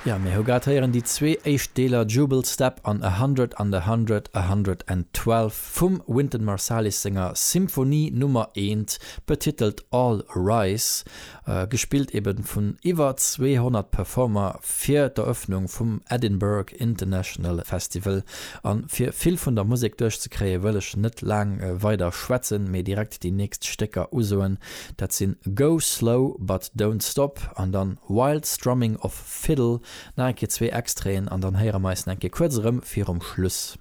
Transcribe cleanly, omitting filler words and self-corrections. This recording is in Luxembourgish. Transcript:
Jo, mir hu grad héieren déi zwee éischt Deeler Jubal Step an A Hundred and a Hundred, A Hundred and Twelve vum Wynton Marsalis senger Symphonie Nummer eent, betitelt All Rise, gespillt eben vun iwwer 200 Performer fir d'Eröffnung vum Edinburgh International Festival. An fir vill vun der Musek duerchzekréien, wëll ech net laang weider schwätzen, mee direkt déi nächst Stécker usoen. Dat sinn Go Slow But Don't Stop an dann Wild Strumming of Fiddle. Nach eng Kéier zwee Extraiten an dann héiere mer eis nach eng Kéier kuerz erëm virum Schluss.